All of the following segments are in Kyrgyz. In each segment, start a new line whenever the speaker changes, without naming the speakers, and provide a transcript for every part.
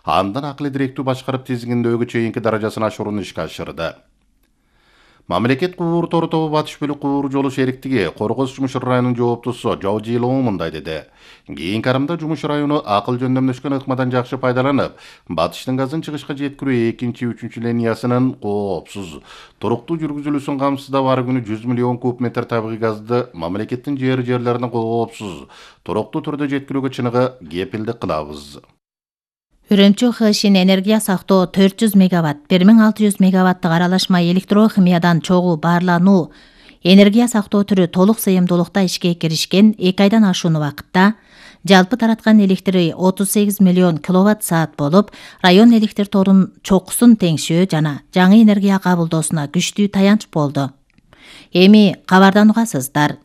андан акылы директүү башкарып тизгиндөөгө чейинки даражасын ашырууну ишке ашырды. Мамлекет кубур тору тобу Батыш бөлүк кубур жолу шериктиги Коргоз Жумуш районунун жооптусу Жауджилоо мындай деди. Кийинки арымда Жумуш району акыл жөндөмдөшкөн ыкмадан жакшы пайдаланып, Батыштын газын чыгышка жеткирүү 2-3 линиясынын коопсуз, туруктуу жүргүзүлүүсүн камсыздап ар күнү 100 миллион куб метр табигый газды мамлекеттин жерлерине коопсуз, туруктуу түрдө жеткирүүгө чыныгы кепилдик кылабыз.
Үрөмчү ХШин энергия сактоо 400 мегаватт, 1600 мегаваттык аралашма электрохимиядан чогуу баарлануу энергия сактоо түрү толук сыйымдуулукта ишке киришкен 2 айдан ашуун убакытта жалпы тараткан электри 38 миллион киловатт саат болуп, район электр торунун чокусун теңшөө жана жаңы энергия кабылдоосуна күчтүү таянч болду. Эми кабардан угасыздар.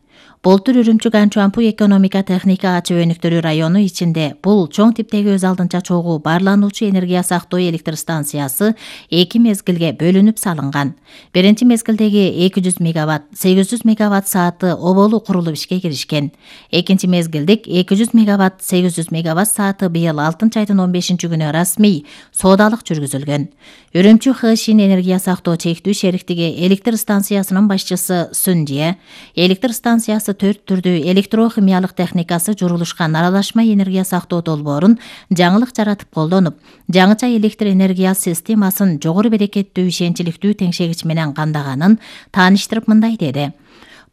Болтур Үрүмчү Ганчуампу экономика техника ачуу өнүктүрүү району ичинде бул чоң типтеги өз алдынча чогуу баарлануучу энергия сактоо электр станциясы 2 мезгилге бөлүнүп салынган. Биринчи мезгилдеги 200 мегаватт, 800 мегаватт сааты оболу курулуп ишке киришкен. Экинчи мезгилдик 200 мегаватт, 800 мегаватт сааты быйыл 6-айдын 15-күнү расмий соодалык жүргүзүлгөн. Үрүмчү ХШин энергия сактоо чектүү шериктиги электр станциясынын башчысы Сүнжие, электр станциясы 4 түрдүү электрохимиялык техникасы журулушкан аралашма энергия сактоо долбоорун жаңылык жаратып колдонуп, жаңыча электр энергия системасын жогору берекеттүү ишенчиликтүү теңшегич менен кандаганын тааныштырып мындай деди.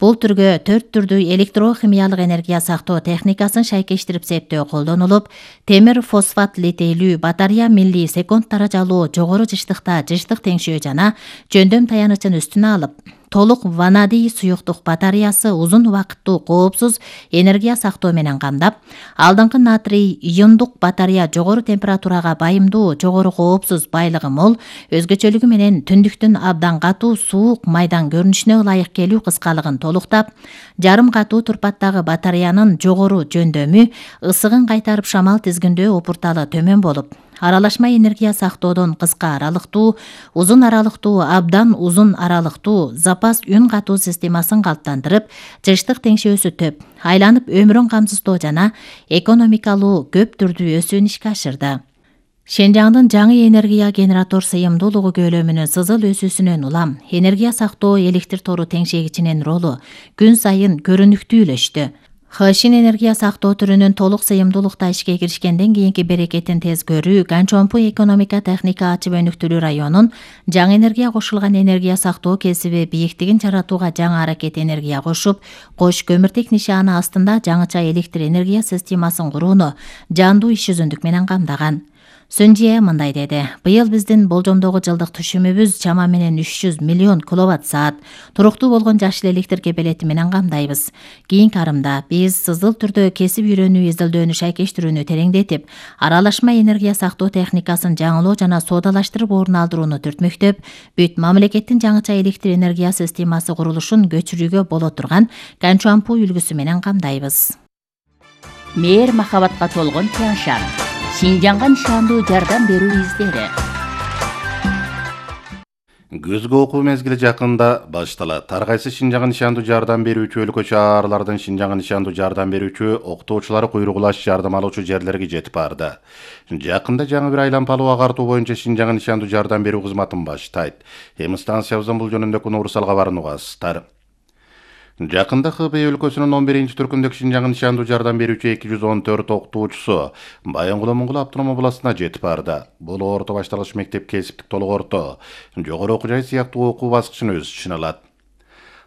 Бул түргө 4 түрдүү электрохимиялык энергия сактоо техникасын шайкештирип септөө колдонулуп, темир фосфат литейлүү батарея милли секунд даражалуу жогору жыштыкта жыштык теңшөө жана жөндөм таянычын үстүнө алып, толук ванадий суюктук батареясы узун убакыттуу коопсуз энергия сактоо менен камдап, алдыңкы натрий иондук батарея жогору температурага байымдуу, жогору коопсуз байлыгы мол, өзгөчөлүгү менен түндүктүн абдан катуу суук майдан көрүнүшүнө ылайык келүү кыскалыгын толуктап, жарым катуу турпаттагы батареянын жогору жөндөмү ысыгын кайтарып шамал тизгиндөө опурталы төмөн болуп, аралашма энергия сактоодон кыска аралыктуу, узун аралыктуу, абдан узун аралыктуу запас үн катуу системасын калыптандырып, жыштык теңшөөсү төп, айланып өмүрүн камсыздоо жана экономикалуу көп түрдүү өсүүнү ишке ашырды. Шенжаңдын жаңы энергия генератор сыйымдуулугу көлөмүнүн сызыл өсүүсүнөн улам энергия сактоо электр тору теңшегичинин ролу күн сайын көрүнүктүү үлөштү. ХШин энергия сактоо түрүнүн толук сыйымдуулукта ишке киришкенден кийинки берекетин тез көрүү Ганчуампу экономика техника ачып өнүктүрүү районун жаңы энергия кошулган энергия сактоо кесиби бийиктигин жаратууга жаңы аракет энергия кошуп, кош көмүртек нишаны астында жаңыча электр энергия системасын курууну жандуу иш жүзүндүк менен камдаган. Сүнжие мындай деди. Быйыл биздин болжомдогу жылдык түшүмүбүз чама менен 300 миллион киловатт саат туруктуу болгон жашыл электр кепелети менен камдайбыз. Кийинки арымда биз сызыл түрдө кесип үйрөнүү изилдөөнү шайкештирүүнү тереңдетип, аралашма энергия сактоо техникасын жаңылоо жана соодалаштырып орун алдырууну түртмөктөп, бүт мамлекеттин жаңыча электр энергия системасы курулушун көчүрүүгө боло турган Ганчуампу үлгүсү менен камдайбыз.
Мээр махабатка толгон Тяншан. Шинжаңга нишандуу жардам берүү издери.
Күзгү окуу мезгили жакында башталат. Ар кайсы Шинжаңга нишандуу жардам берүүчү өлкө шаарлардын Шинжаңга нишандуу жардам берүүчү окутуучулары куйругулаш жардам алуучу жерлерге жетип барды. Жакында жаңы бир айлампалуу агартуу боюнча Шинжаңга нишандуу жардам берүү кызматын баштайт. Эми станциябыздын бул жөнүндөгү Нурсал кабарын угасыздар. Жакында Хыбей өлкөсүнүн 11-түркүндөгү Шинжаңга нишандуу жардам берүүчү 214 окутуучусу Баянгулуу автономия областына жетип барды. Бул орто башталгыч мектеп, кесиптик толук орто, жогору окуу жай сыяктуу окуу баскычын өз ичине алат.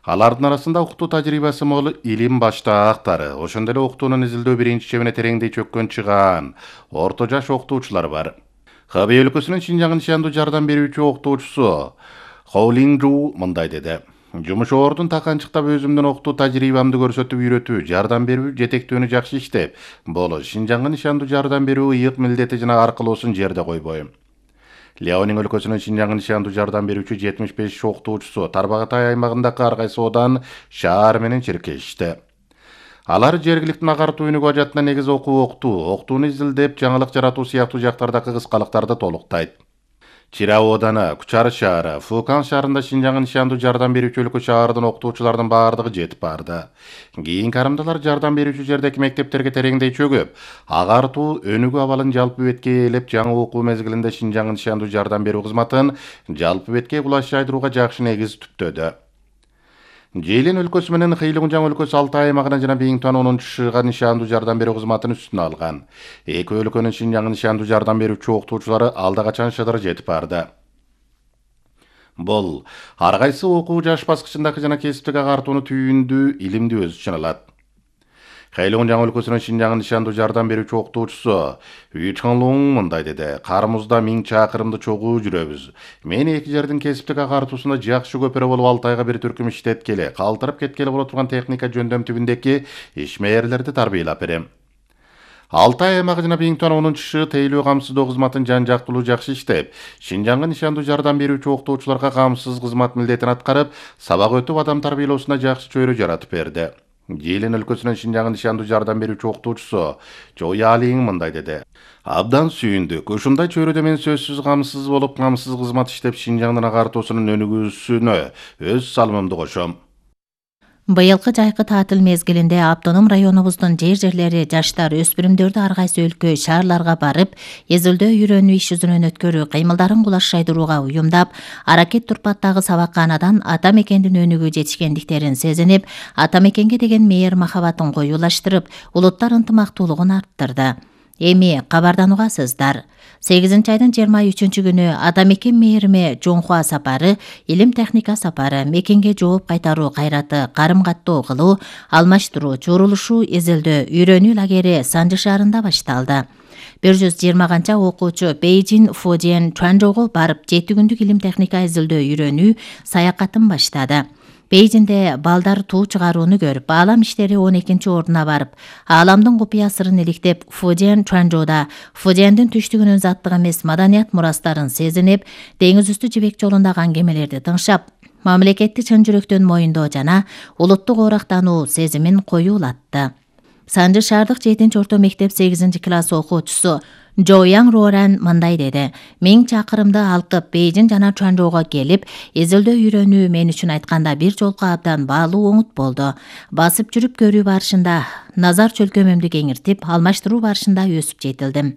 Алардын арасында окутуу тажрыйбасы мол илим баштаактары, ошондой эле окутуунун изилдөө биринчи чебине тереңдей чөккөн чыгаан орто жаш окутуучулар бар. Хыбей өлкөсүнүн Шинжаңга нишандуу жардам берүүчү окутуучусу Хоулинжу мындай деди. Жумуш ордун таканчыктап өзүмдүн окутуу тажрыйбамды көрсөтүп үйрөтүү, жардам берүү, жетектөөнү жакшы иштеп, боло Шинжаңга нишандуу жардам берүү ыйык милдети жана аркылуусун жерде койбойм. Леонин өлкөсүнүн Шинжаңга нишандуу жардам берүүчү 75 окутуучусу Тарбагатай аймагындагы ар кайсы одан, шаар менен чиркешти. Алар жергиликтүү агартуу өнүгүү ажатына негиз окуу окутууну изилдеп, жаңылык жаратуу сыяктуу жактардагы кыскалыктарды толуктайт. Чирао ооданы, Кучар шаары, Фукан шаарында Шинжаңга нишандуу жардам берүүчү өлкө шаардын окутуучулардын баардыгы жетип барды. Кийин карымдалар жардам берүүчү жердеги мектептерге тереңдей чөгүп, агартуу өнүгүү абалын жалпы бетке ээлеп, жаңы окуу мезгилинде Шинжаңга нишандуу жардам берүү кызматын жалпы бетке кулаш жайдырууга жакшы негиз түптөдү. Жээлин өлкөсү менен Хыйлыгунжаң өлкөсү Алтай аймагына жана Биңтуан 10-шыга нишандуу жардам берүү кызматын үстүнө алган. Эки өлкөнүн Шинжаңга нишандуу жардам берүүчү окутуучулары алда качан шыдыр жетип барды. Бул ар кайсы окуу жаш баскычындагы жана кесиптик агартууну түйүндүү, илимди өз ичине алат. Хыйлыгунжаң өлкөсүнүн Шинжаңга нишандуу жардам берүүчү окутуучусу Үй Чаңлуң мындай деди: "Карымызда 1000 чакырымды чогуу жүрөбүз. Мен эки жердин кесиптик агартуусунда жакшы көпөрө болуп Алтайга бир түркүм иштеткели, калтырып кеткели боло турган техника жөндөм түбүндеки ишмерлерди тарбиялап берем. Алтай аймагы жана Биңтуан 10-шы тейлөө камсыздоо кызматын жан жактылуу жакшы иштеп, Шинжаңга нишандуу жардам берүүчү окутуучуларга камсыз кызмат милдетин аткарып, сабак өтүп адам тарбиялоосуна жакшы чөйрө жаратып берди. Жээлин өлкөсүнүн Шинжаңга нишандуу жардам берүүчү окутуучусу Жоялиң мындай деди: "Абдан сүйүндүк. Ушундай чөйрөдө мен сөзсүз камсыз болуп, камсыз кызмат иштеп, Шинжаңдын агартуусунун өнүгүүсүнө өз салымымды кошом."
Быйылкы жайкы таатыл мезгилинде автоном районубуздун жерлери жаштар, өспүрүмдөрдү ар кайсы өлкө, шаарларга барып, эзилдөө үйрөнүү иш жүзүнөн өткөрүү, кыймылдарын кулаш жайдырууга уюмдап, аракет турпаттагы сабакканадан ата мекендин өнүгүү жетишкендиктерин сезинип, ата мекенге деген мээр махабатын коюулаштырып, улуттар ынтымактуулугун арттырды. Эми кабардан угасыздар. 8-айдын 23-күнү ата мекен мээриме Жоңхуа сапары, илим техника сапары, мекенге жооп кайтаруу кайраты, карым каттоо кылуу, алмаштыруу, чурулушуу, эзилдөө, үйрөнүү лагери Санжы шаарында башталды. 120 канча окуучу Бейжин, Фудзен, Чуанчжоуго барып, 7 күндүк илим техника эзилдөө үйрөнүү саякатын баштады. Бейжинде балдар туу чыгарууну көрүп, аалам иштери 12-чи ордуна барып, ааламдын купуя сырын иликтеп, Фудзен, Чуанчжоуда Фудзендин түштүгүнүн заттык эмес маданият мурастарын сезинип, деңиз үстү жибек жолундагы аңгемелерди тыңшап, мамлекетти чын жүрөктөн моюндоо жана улуттук орактануу сезимин коюулатты. Санжы шаардык 7 орто мектеп 8 класс окуучусу Жояң Роран мындай деди: "1000 чакырымды алкып, Бейжин жана Чуанчжоуга келип, эзилдөө үйрөнүү мен үчүн айтканда бир жолку абдан баалуу оңут болду. Басып жүрүп көрүү барышында назар чөлкөмүмдү кеңиртип, алмаштыруу барышында өсүп жетилдим.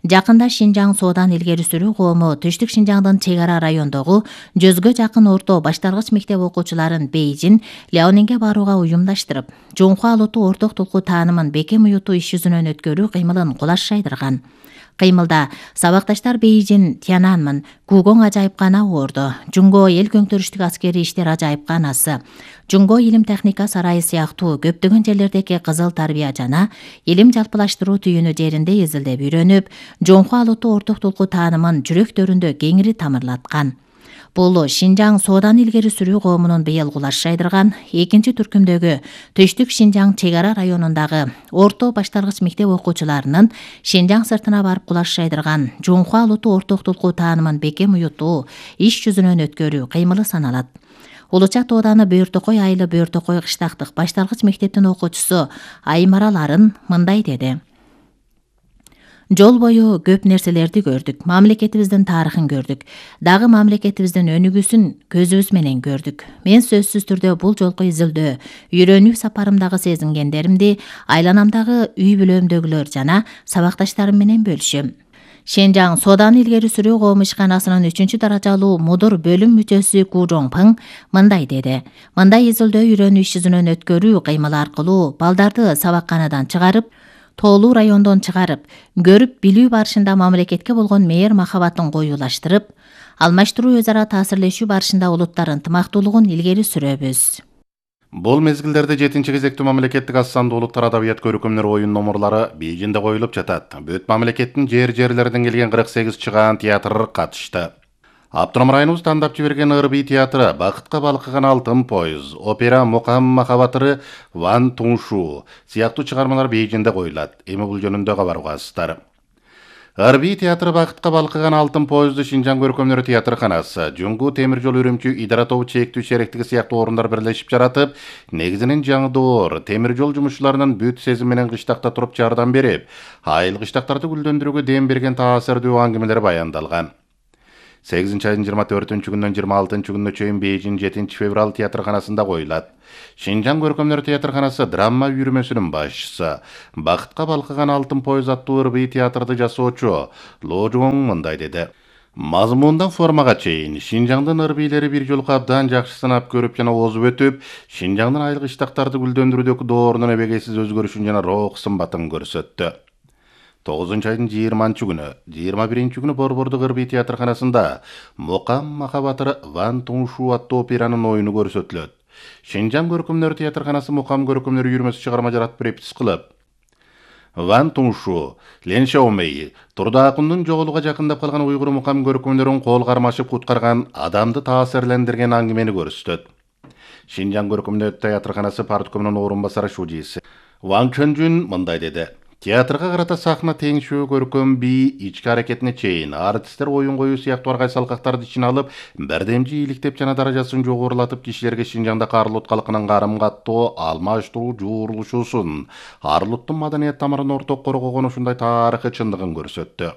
Жакында Шинжаң Соодан илгери сүрүү коому Түштүк Шинжаңдын чек ара райондогу 100гө жакын орто башталгыч мектеп окуучуларын Бейжин, Ляонинге барууга уюмдаштырып, Жоңхуа улуттук орток тулкуу таанымын бекем уютуу иш жүзүнөн өткөрүү кыймылын кулаш жайдырган. Кыймылда сабакташтар Бейжин, Тянанмын, Гугоң ажайыпкана орду, Жунго эл көңтөрүштүк аскери иштер ажайыпканасы, Жунго илим техника сарайы сыяктуу көптөгөн жерлердеги кызыл тарбия жана илим жалпылаштыруу түйүнү жеринде эзилдеп үйрөнүп, Жоңхуа улуттук орток тулкуу таанымын жүрөктөрүндө кеңири тамырлаткан. Бул Шинжаң Соодан илгери сүрүү коомунун быйыл кулаш жайдырган 2-түркүмдөгү Түштүк Шинжаң чек ара районундагы орто башталгыч мектеп окуучуларынын Шинжаң сыртына барып кулаш жайдырган Жоңхуа улуттук орток тулкуу таанымын бекем уютуу иш жүзүнөн өткөрүү кыймылы саналат. Улучат ооданы Бөөртөкөй айылы Бөөртөкөй кыштактык башталгыч мектептин окуучусу Аймараларын мындай деди: "Жол бою көп нерселерди көрдүк. Мамлекетибиздин тарыхын көрдүк. Дагы мамлекетибиздин өнүгүүсүн көзүбүз менен көрдүк. Мен сөзсүз түрдө бул жолку изилдөө, үйрөнүү сапарымдагы сезингендеримди айланамдагы үй бүлөмдөгүлөр жана сабакташтарым менен бөлүшөм." Шинжаң Соодан илгери сүрүү коому ишканасынын 3-даражалуу мудур бөлүм мүчөсү Ку Жоңпың мындай деди: "Мындай изилдөө үйрөнүү иш жүзүнөн өткөрүү кыймылы аркылуу балдарды сабакканадан чыгарып, тоолуу райондон чыгарып, көрүп билүү барышында мамлекетке болгон мээр махабатын коюулаштырып, алмаштыруу өз ара таасирлешүү барышында улуттар ынтымактуулугун илгери сүрөбүз."
Бул мезгилдерде 7-кезектүү мамлекеттик аз сандуу улуттар адабият көркөмдөр оюн номурлары Бейжинде коюлуп жатат. Бүт мамлекеттин жерлерден келген 48 чыгаан театр катышты. Автоном районубуз тандап жиберген ырбий театры, Бакытка балкыган алтын поезд, опера Мукам махабатыры, Ван Туншу сыяктуу чыгармалар Бейжинде коюлат. Эми бул жөнүндө кабар угасыздар. Ырбий театры Бакытка балкыган алтын поезду Шинжаң көркөмдөр театрканасы, Жуңгу темир жол өрүмчү идара тобу чектүү шериктиги сыяктуу орундар бирлешип жаратып, негизинен жаңы темир жол жумушчуларынын бүт сезим менен кыштакта туруп жардам берип, айыл кыштактарды гүлдөндүрүүгө дем берген таасирдүү аңгемелер баяндалган. 8 айдын 24-күнөн 26-күнүнө чейин Бейжин 7-февраль театрканасында коюлат. Шинжаң көркөмдөр театрканасы драма үйүрмөсүнүн башчысы, Бакытка балкыган алтын поез аттуу ырбый театрды жасоочу Ло Жуоң мындай деди. Мазмундан формага чейин Шинжаңдын ырбийлери бир жолку абдан жакшы сынап көрүп жана озуп өтүп, Шинжаңдын айыл кыштактарды гүлдөндүрүүдөгү доорунун эбегейсиз өзгөрүшүн жана рок сымбатын көрсөттү. 9 айдын 20-күнү, 21-күнү Борбордук ырбый театрканасында Мукам Махабатыр Ван Туншу аттуу операнын оюну көрсөтүлөт. Шинжаң көркөмдөр театрканасы Мукам көркөмдөр үйүрмөсү чыгарма жаратып репетис кылып, Ван Туншу, Лен Шаомей, Турда Акундун жоголууга жакындап калган уйгур мукам көркөмдөрүн кол кармашып куткарган, адамды таасирлендирген аңгемени көрсөтөт. Шинжаң көркөмдөр театрканасы парткомунун орун басары шужиси Ван Чөнжүн мындай деди. Театрга карата сахна теңшөө көркөм бий ички аракетине чейин артисттер оюн коюу сыяктуу аргай салкактарды ичине алып, бирдемчи ийгиликтеп жана даражасын жогорулатып кишилерге Шинжаңда Карлут калкынын карым-каттоо, алмаштыруу, жуурулушуусун, Арлуттун маданият тамырын орток коргогон ушундай тарыхый чындыгын көрсөттү.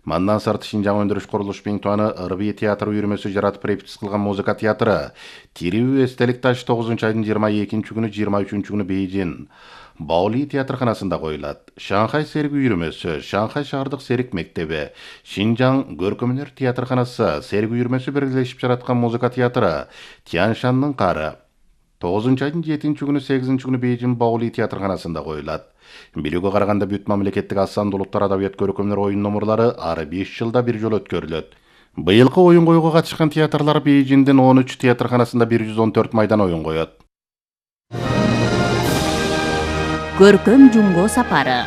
Мандан сырт Шинжаң өндүрүш курулуш Пиңтуаны ырбый театр үйүрмөсү жаратып репетис кылган музыка театры Тирүү эстелик таш 9 айдын 22-күнү, 23-күнү Бейжин Баоли театрканасында коюлат. Шанхай серик үйүрмөсү, Шанхай шаардык серик мектеби, Шинжаң көркөмдөр театрканасы серик үйүрмөсү биргелешип жараткан музыка театры Тяншандын кары 9 айдын 7-күнү, 8-күнү Бейжин Баоли театрканасында коюлат. Билүүгө караганда бүт мамлекеттик асан улуттар адабият көркөмдөр оюн номурлары ары 5 жылда бир жолу өткөрүлөт. Быйылкы оюн коюуга катышкан театрлар Бейжиндин 13 театрканасында 114 майдан оюн коет.
Көркөм жумго сапары.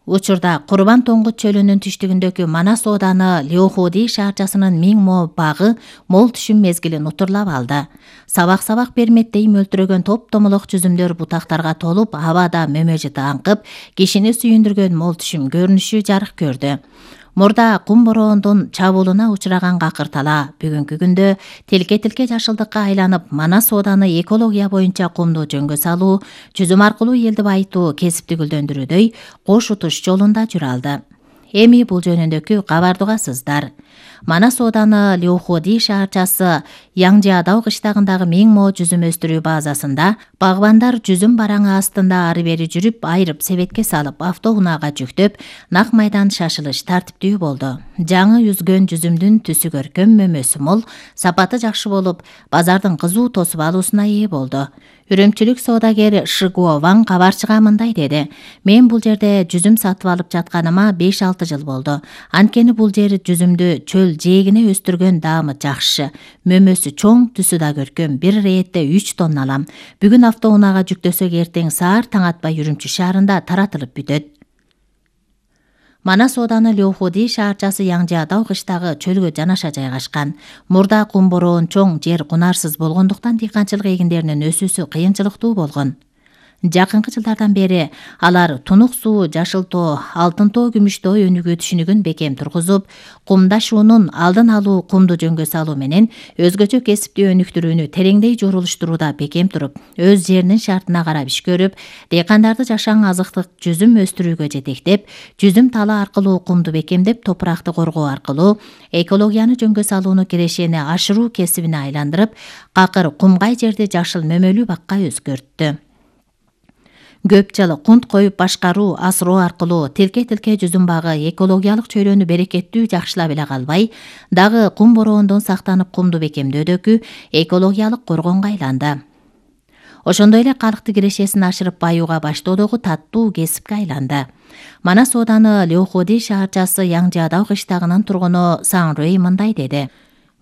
Учурда Курбан Тоңгут чөлүнүн түштүгүндөгү Манас ооданы Леохуди шаарчасынын Миң Мо багы мол түшүм мезгилин утурлап алды. Сабак-сабак берметтей мөлтүрөгөн топ-томолок жүзүмдөр бутактарга толуп, абада мөмөжү аңкып, кишини сүйүндүргөн мол түшүм көрүнүшү жарык көрдү. Мурда кум бороондун чабуулуна учураган Какыр тала бүгүнкү күндө тилке-тилке жашылдыкка айланып, Манас ооданы экология боюнча кумду жөнгө салуу, жүзүм аркылуу элди байытуу, кесипти гүлдөндүрүүдөй кош утуш жолунда жүрө алды. Эми бул жөнүндөгү кабарды угасыздар. Манас ооданы Леохуди шаарчасы Яңжаадау кыштагындагы Миң Мо жүзүм өстүрүү базасында багбандар жүзүм бараңы астында ары бери жүрүп, айырып себетке салып, автоунаага жүктөп, нак майдан шашылыш тартиптүү болду. Жаңы үзгөн жүзүмдүн түсү көркөм, мөмөсү мол, сапаты жакшы болуп, базардын кызуу тосуп алуусуна ээ болду. Үрөмчүлүк соодагер Шигуо Ван кабарчыга мындай деди. Мен бул жерде жүзүм сатып алып жатканыма 5-6 жыл болду. Анткени бул жер жүзүмдү чөл жээгине өстүргөн даамы жакшы. Мөмөсү чоң, түсү да көркөм. Бир реетте 3 тонна алам. Бүгүн автоунаага жүктөсөк эртең саар таң атпай Үрүмчү шаарында таратылып бүтөт. Манас ооданы Леохуди шаарчасы Яңжаадау кыштагы чөлгө жанаша жайгашкан. Мурда кум бороон чоң, жер кунарсыз болгондуктан дыйканчылык эгиндеринин өсүүсү кыйынчылыктуу болгон. Жакынкы жылдардан бери алар Тунук суу, Жашылтоо, Алтынтоо, Күмүштөө өнүгүү түшүнүгүн бекем тургузуп, кумдашуунун алдын алуу, кумду жөнгө салуу менен өзгөчө кесипти өнүктүрүүнү тереңдей жорулуштурууда бекем туруп, өз жеринин шартына карап иш көрүп, дыйкандарды жашаң азыктык жүзүм өстүрүүгө жетектеп, жүзүм талы аркылуу кумду бекемдеп, топуракты коргоо аркылуу экологияны жөнгө салууну кирешени ашыруу кесибине айландырып, Какыр кумгай жерди жашыл мөмөлүү бакка өзгөрттү. Көп жыл кунт коюп башкаруу, асыроо аркылуу тилке-тилке жүзүм багы экологиялык чөйрөнү берекеттүү жакшылап эле калбай, дагы кум бороондон сактанып кумду бекемдөөдөгү экологиялык коргонго айланды. Ошондой эле калкты кирешесин ашырып баюуга баштоодогу таттуу кесипке айланды. Манас ооданы Леохуди шаарчасы Яңжаадау кыштагынын тургуну Сан Рэй мындай деди.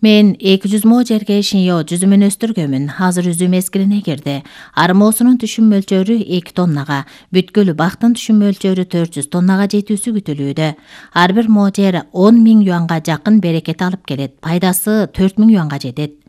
Мен 200 мо жерге шиньо жүзүмүн өстүргөмүн. Азыр үзүү мезгилине кирди. Армоосунун түшүм мөлчөрү 2 тоннага, бүткүл бактын түшүм мөлчөрү 400 тоннага жетүүсү күтүлүүдө. Ар бир мо жер 10 000 юанга жакын берекет алып келет. Пайдасы 4 000 юанга жетет.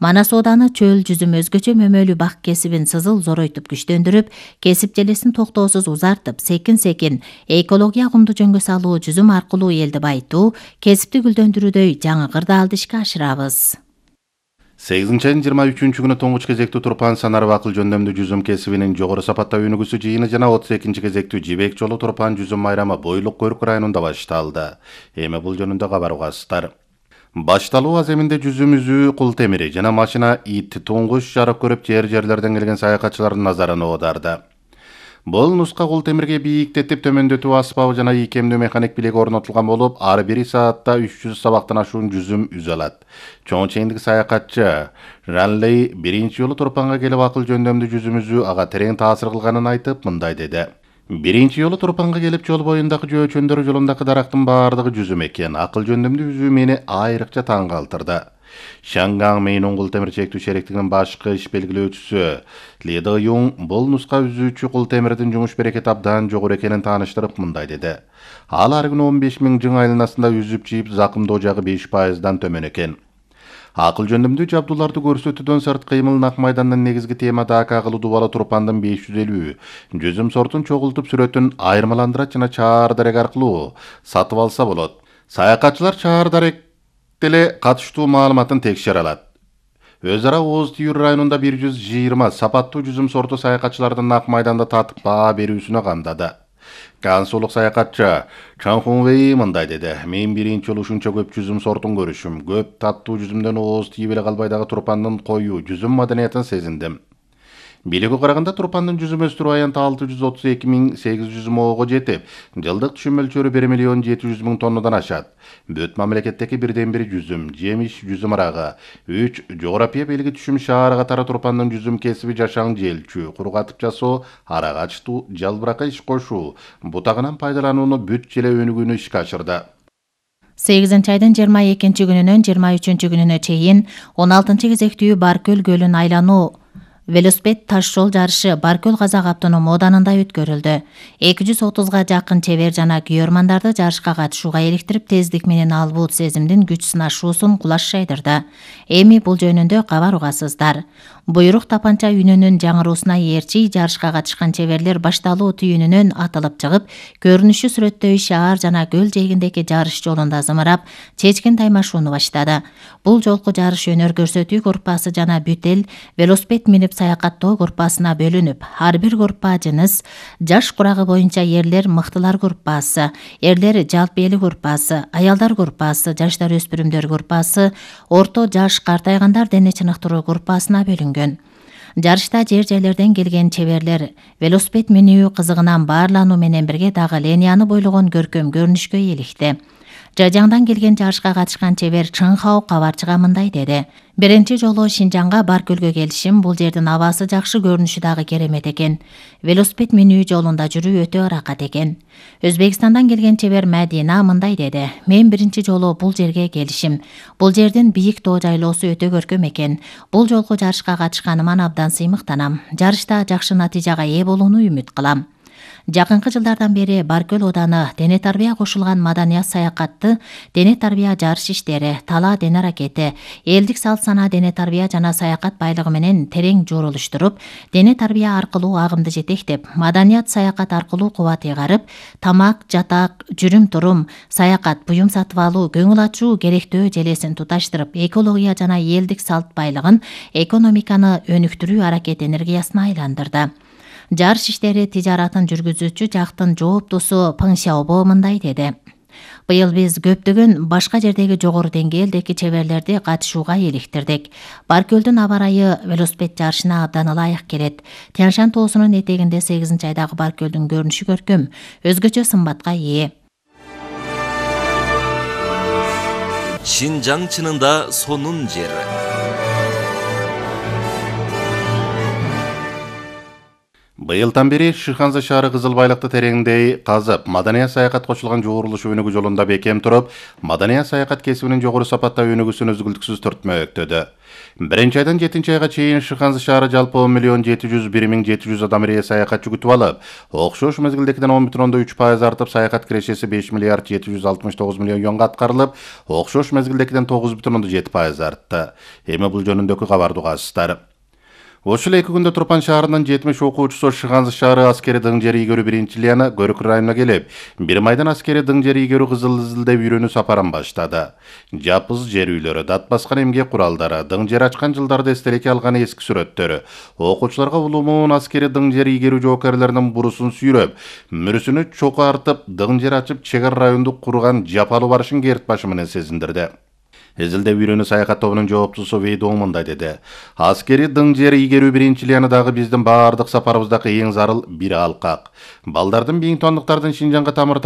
Манас ооданы чөл жүзүм өзгөчө мөмөлүү бак кесибин сызыл зоройтуп күчтөндүрүп, кесип желесин токтоосуз узартып, секин-секин экология кумду жөнгө салуу, жүзүм аркылуу элди байытуу, кесипти гүлдөндүрүүдөй жаңы кырдаалды ишке ашырабыз.
8-айдын 23 күнү тоңуч кезектүү турпан санарып акыл жөндөмдүү жүзүм кесибинин жогору сапаттуу өнүгүүсү жыйыны жана 32 кезектүү жибек жолу турпан жүзүм майрамы Бойлук Көрк районунда башталды. Эми бул жөнүндө кабар угасыздар. Башталуу аземинде жүзүм үзүү, кул темири жана машина ит туңгуш жарык көрүп жерлерден келген саякатчылардын назарын оодарды. Бул нуска кул темирге бийиктетип төмөндөтүү аспабы жана ийкемдүү механик билеги орнотулган болуп, ар бир саатта 300 сабактан ашуун жүзүм үзө алат. Чоң чейиндик саякатчы Ранлей биринчи жолу Турпанга келип акыл жөндөмдүү жүзүм үзүү ага терең таасир кылганын айтып, мындай деди. Биринчи жолу Турпанга келип жол боюндагы жөөчөндөр жолундагы дарактын баардыгы жүзүм экен. Акыл жөндөмдүү үзүү мени айрыкча таң калтырды. Шангаң Мейнун кул темир чектүү шериктигинин башкы иш белгилөөчүсү Ли Дэ Юң бул нуска үзүүчү кул темирдин жумуш берекети абдан жогору экенин тааныштырып, мындай деди. Ал ар күнү 15 000 жың айланасында үзүп жийип, закымдоо жагы 5%дан төмөн экен. Акыл жөндөмдүү жабдууларды көрсөтүүдөн сырт кыймыл ак майдандын негизги темада акагылуу дубалы Турпандын 550 жүзүм сортун чогултуп сүрөтүн айырмаландырат жана чаар дарек аркылуу сатып алса болот. Саякатчылар чаар дарек деле катыштуу маалыматын текшере алат. Өз ара Оз Түйүр районунда 120 сапаттуу жүзүм сорту саякатчылардын ак майданда татып баа берүүсүнө камдады. Кансулук саякатчы Чан Хунвей мындай деди. Мен биринчи жолу ушунча көп жүзүм сортун көрүшүм. Көп таттуу жүзүмдөн ооз тийип эле калбай дагы Турпандын коюу жүзүм маданиятын сезиндим. Бийликке караганда Турпандын жүзүм өстүрүү аянты 632 800 моого жетип, жылдык түшүм мөлчөрү 1 700 000 тоннадан ашат. Бүт мамлекеттеги бирден бир жүзүм, жемиш, жүзүм арагы, 3 жогорапия белги түшүм шаары катары Турпандын жүзүм кесиби жашаң желчүү, кургатып жасоо, арагачтуу, жалбыракка иш кошуу, бутагынан пайдаланууну бүт желе өнүгүүнү ишке ашырды.
8-айдын 22 күнүнөн 23 күнүнө чейин 16 кезектүү Баркөл көлүн айлануу велосипед таш жол жарышы Баркөл Казак автоном оданында өткөрүлдү. 230га жакын чебер жана күйөрмандарды жарышка катышууга иликтирип, тездик менен албут сезимдин күч сынашуусун кулаш жайдырды. Эми бул жөнүндө кабар угасыздар. Буйрук тапанча үнүнүн жаңыруусуна ээрчи жарышка катышкан чеберлер башталуу түйүнүнөн атылып чыгып, көрүнүшү сүрөттөй шаар жана көл жээгиндеги жарыш жолунда зымырап, чечкин таймашууну баштады. Бул жолку жарыш өнөр көрсөтүү группасы жана бүт эл велосипед минип саякаттоо группасына бөлүнүп, ар бир группа жыныс, жаш курагы боюнча эрлер мыктылар группасы, эрлер жалпы эли группасы, аялдар группасы, жаштар өспүрүмдөр группасы, орто жаш картайгандар дене чыныктыруу группасына бөлүнгөн. Жарышта жер-жерлерден келген чеберлер велосипед минүү кызыгынан баарлануу менен бирге дагы линияны бойлогон көркөм көрүнүшкө иликти. Жажаңдан келген жарышка катышкан чебер Чыңхау кабарчыга мындай деди. Биринчи жолу Шинжаңга Баркөлгө келишим, бул жердин абасы жакшы, көрүнүшү дагы керемет экен. Велосипед минүү жолунда жүрүү өтө ыракат экен. Өзбекстандан келген чебер Мәдина мындай деди. Мен биринчи жолу бул жерге келишим. Бул жердин бийик тоо жайлоосу өтө көркөм экен. Бул жолку жарышка катышканыма абдан сыймыктанам. Жарышта жакшы натыйжага ээ болууну үмүт кылам. Жакынкы жылдардан бери Баркөл ооданы дене тарбия кошулган маданият саякатты, дене тарбия жарыш иштери, тала дене аракети, элдик салт санаа дене тарбия жана саякат байлыгы менен терең журулуштуруп, дене тарбия аркылуу агымды жетектеп, маданият саякат аркылуу кубат ыйгарып, тамак, жатак, жүрүм-турум, саякат, буюм сатып алуу, көңүл ачуу керектөө желесин туташтырып, экология жана элдик салт байлыгын, экономиканы өнүктүрүү аракет энергиясына айландырды. Жарыш иштери тижаратын жүргүзүүчү жактын жооптусу Пың Сяобо мындай деди. Быйыл биз көптөгөн башка жердеги жогору деңгээлдеги чеберлерди катышууга иликтирдик. Баркөлдүн аба ырайы велосипед жарышына абдан ылайык келет. Тянь-Шань тоосунун этегинде 8-айдагы Баркөлдүн көрүнүшү көркөм, өзгөчө сымбатка ээ.
Шинжаң чынында сонун жер.
Быйылдан бери Шыханза шаары кызыл байлыкты тереңдей казып, маданият саякат кошулган жуурулуш өнүгүү жолунда бекем туруп, маданият саякат кесибинин жогору сапатта өнүгүүсүн үзгүлтүксүз түртмөктөдү. 1-айдан 7-айга чейин Шыханза шаары жалпы 1 701 700 адам ырайы саякатчы күтүп алып, окшош мезгилдегиден 10,3% артып, саякат кирешеси 5 769 миллион юанга аткарылып, окшош мезгилдегиден 9,7% артты. Эми бул жөнүндөгү кабарды угасыздар. Ошол 2 күндө Турпан шаарынын 70 окуучусу Шыганзы шаары аскери дың жер ийгерүү биринчилигине Көрүк районуна келип, бир майдан аскери дың жер ийгерүү кызыл изилдеп үйрөнүү сапарын баштады. Жапыз жер үйлөрү, дат баскан эмгек куралдары, дың жер ачкан жылдарды эстеликке алган эски сүрөттөрү, окуучуларга улуумун аскери дың жер ийгерүү жоокерлеринин бурусун сүйрөп, мүрүсүнү чокартып, дың жер ачып чегар райондук курган жапалуу барышын керт башы менен сезиндирди. Изилдеп үйрөнүү саякат тобунун жооптусу Вейдоң мындай деди. Аскери дың жер ийгерүү биринчилигине дагы биздин баардык сапарыбыздагы эң зарыл бир алкак. Балдардын бийиң тондуктардын Шинжанга тамыр